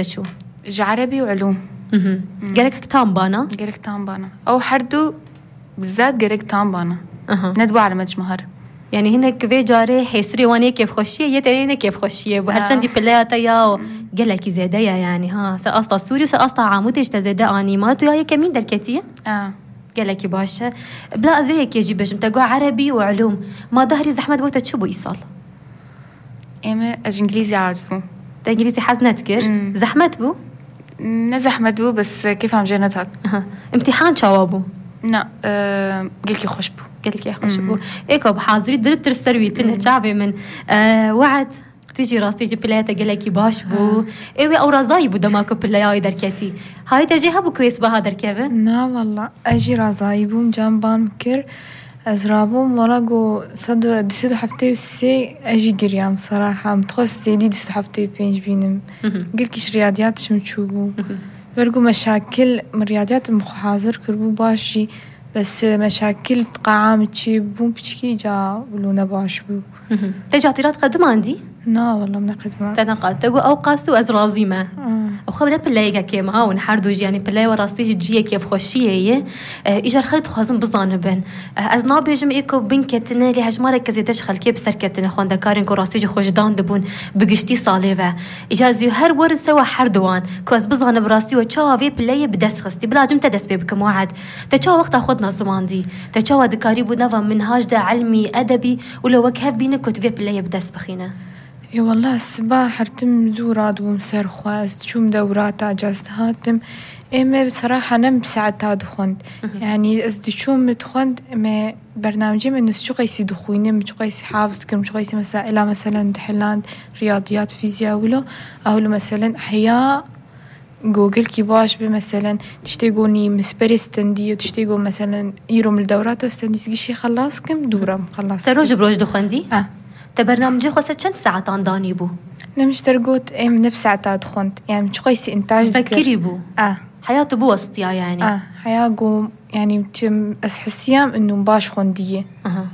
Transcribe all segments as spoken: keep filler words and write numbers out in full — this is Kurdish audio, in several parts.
çû? Ji erebî û ulûm. Mhm. Gerek tam bana? Gerek tam bana. Ew her du bizat gerek tam bana. Aha. Ne dua elemet ji me her. Yani hinek vê carê hêsirê wan yê kêfxweşiyê, yê tenê ne kêfxweşiyê bû. Her Ha. çendî pileya te ya gelekî zêde ye yani, ha. Ser asta Sûrî û ser asta Amûdê ji te zêde anî. Ma tu ya yekemîn derketiye? Ha. Gelekî baş e. Bila ez vê yekê jî bêjim, te got erebî û ulûm. Ma dehrî zehmet bo te çi bû îsal? Ê me, ez ji îngilîzî aciz bûm. Te îngilîzî hez nedikir? Hmm. Zehmet bû? Ne zehmet bû, bes kêfa min jê nehat. Aha. Îmtîhan çawa bû? Na, e, gelkî xweş bû. Gelkî xweş Hmm. bû. Ê ka bi hazirî dirit dir ser wî tine Hmm. çavê min. E, We'd, tu jî rastî jî pileya te gelekî baş bû. Ha. Ê wê ew razayî bû dema ku pileya wî derketî. Hayê te jê hebû ku wê sibaha derkeve? Na, walla, ez jî razayî bûm, can ban kir. Ez rabûm, wala got sed û, du sed û heftê û sê, ez jî giriyam, seraha. Min dixwest zêdî du sed û heftê û pênc bînim. Mhm. Gelkî ji riyadiyat ji min çûbû. Mhm. Wer got meşakil, min riyadiyat min xwe hazir kiribû baş jî, bes, e, meşakil qaa min çêbûn piçkî ca wilo ne baş bû. Mhm. Te catîrat qedimandî? Na, wala, min neqedimand. Te neqat. Te got, "Ew qas û ez razî me." Ah. Ew xwe bide pileyeke kêm ha, hûn her du jî, yanî pileyê we rastî jî cihê kêfxweşiyê ye. Eh, îcar xelk dixwazin bizanibin. Eh, ez nabêjim ê ku bin ketine, lê hejmareke zêde ji xelkê bi ser ketine, xwendekarên ku rastî jî xwe ji dan dibûn, bi giştî salê ve. Îcar ez ê her werim ser we her duwan, ku ez bizanim bi rastî we çawa vê pileyê bi dest xistî. Bila cim te dest pê bikim, We'd. Te çawa wexta xwe dinezimandî? Te çawa dikarîbû nava minhaj de, ilmî, edebî, wilo wek hev bîne ku tu vê pileyê bi dest bixîne? Ê, wela, siba hertim zû radibûm ser xwe, ez diçûm dewrata, ca ez dihatim. Ê me, bi seraha ne bi saeta dixwend. Mhm. Yanî ez diçûm min dixwend, me bernamecê me nus çi qeysî dixwînim, çi qeysî hafiz dikim, çi qeysî mesaila, meselen, dihiland, riyadiyat, fîzya, wilo, ew li, meselen, heya Go gelkî baş be, meselen, tiştê go nî min sperê stendî, tiştê go, meselen, îro min li dewrata stendî, gişî xelas kim, dûra min xelas Te roj kim. Bi roj dixwendî? Ah. Te bernamecê xwe ser çend saetan danî bû? Ne, min ji te re got, ê, min ne bi saeta dixwend. Yani, min çiqasî întaj dikir. Vekirî bû? Ah. Heya tu biwestiya, yani? Ah, heya go, yani, çi ez hesiyam, inu baş xwendiye. Aha.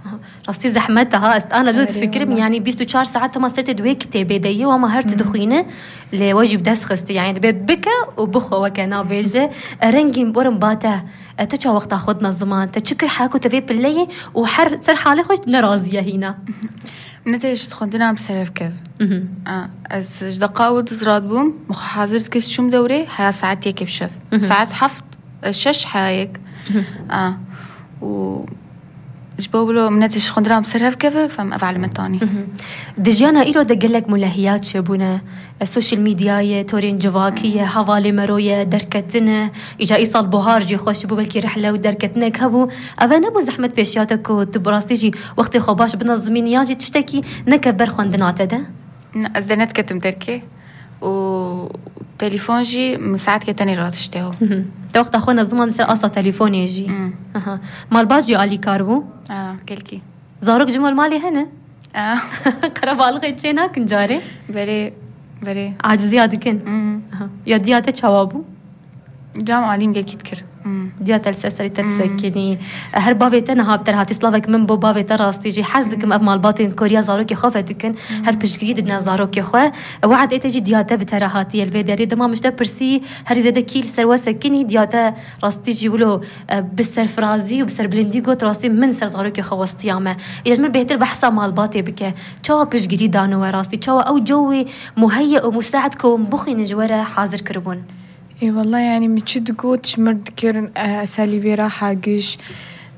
Aha. Rastî zehmet e ha, ez ana lû Erê, difikirim, wala. Yani bîst û çar saet hema ser tê di wê kitêbê de yê, ama her tu Hmm. dixwîne, lê we jî bi dest xistî, yani dibe bike û bixwe weke nabêje. E, rengîn werin ba te, e, te çawa wexta xwe dina ziman, te çi kir heko te vê pilleyê û her ser halê xwe jî tu nerazî ye hîna. Ne te ji xwendina em ser ev kev. Mhm. A, ez ji deqa û duz radbûm, min xwe hazir dikir çûm dewrê, heya saet yekê bi şev. Mhm. Saet heft, e, şeş heya yek. Mhm. A, û ji bo wilo min ne tişt xwendina bi ser hev keve, fem ev elemet anî. Mhm. Di jiyana îro de gelek mulehiyat çêbûne. E, social media ye, torên civakî ye, hevalê mero ye, derketin e. Îca îsal buhar jî xweş bû, belkî rihle û derketinek hebû. Ev e nebû zehmet pêşiya te ku tu bi rastî jî wextê xwe baş binezimînî, yan jî tiştekî neke ber xwendina te de? Ne, ez de nediketim derkê. û telefon jî min saetke tenê ratişte ho. Mhm. Te wexta xwe neziman ser asta telefonê jî. Hmm. Aha. Malbat jî alîkar bû? Ah, gelkî. Zarok ji mal malê hene? Ah. Qerebalixê çê nakin carê? Berê, berê. Aciziya dikin? Hmm. Aha. Ya diya te çawa bû? Cam alîm gelkî dikir. Hmm. Diya te li ser serî te Hmm. disekinî. Her bavê te niha bi te re hatî. Slavek min bo bavê te rastî jî. Hez dikim Hmm. ev malbatên koriya zarokê xwe vedikin. Hmm. Her piştgirî didine zarokê xwe. We'd ê te jî diya te bi te re hatiye li vê derê. Dema min ji te pirsî herî zêde kî li ser we sekinî, diya te rastî jî wilo, e, bi serfirazî û bi serbilindî got, rastî min ser zarokê xwe westiya me. Ê ji min bêhtir behsa malbatê bike. Çawa piştgirî dano we rastî? Çawa ew cewê muheyye û musaid ku hûn bixwînin ji we re hazir kiribûn? Ê, wela, yani, min çi digot, ji mir dikirin, e, eselî bê re hagiş.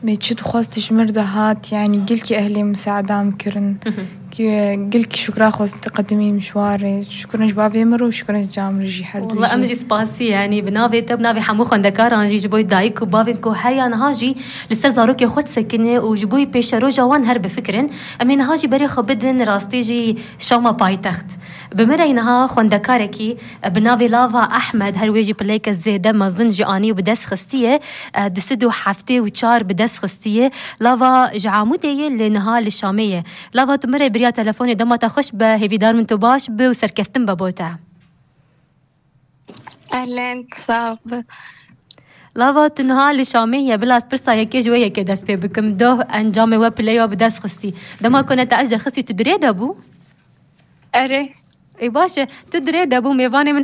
Me çi dixwest, ji mir dihat, yani, gelkî ehlê misaada min kirin. Mhm. Ki, gelkî şukra xwest qedimî min ji warê. Şukrin ji bavê mir û şukrin ji cam re jî her du Wela, em jî. Jî spasî, yani, bi navê te, bi navê hemû xwendekaran jî, ji bo dayik û bavên ku heya niha jî li ser zarokê xwe disekine û ji bo pêşeroja wan her bifikirin. Em ê niha jî berê xwe bidin, rastî jî Şama paytext. Bi min re niha xwendekarekî, e, bi navê Lava Ehmed, her wê jî pileyeke zêde mezin jî anî û bi dest xistiye, e, du sed û heftê û çar bi dest xistiye. Lava ji Amûdê ye, lê niha li Şamê ye. Lava, tu min re biriya telefonê, dema te xweş be, hêvîdar min tu baş bi û serkeftin be bo te. Ehlen, sax bi. Lava, tu niha li Şamê ye, bila ez pirsa yekê ji wê yekê dest pê bikim. Doh, encamê we pileyê we bi dest xistî. Dema ku ne te ez derxistî, tu dirê de bû? Erê. Ê baş e, tu dirê de bû mêvanê min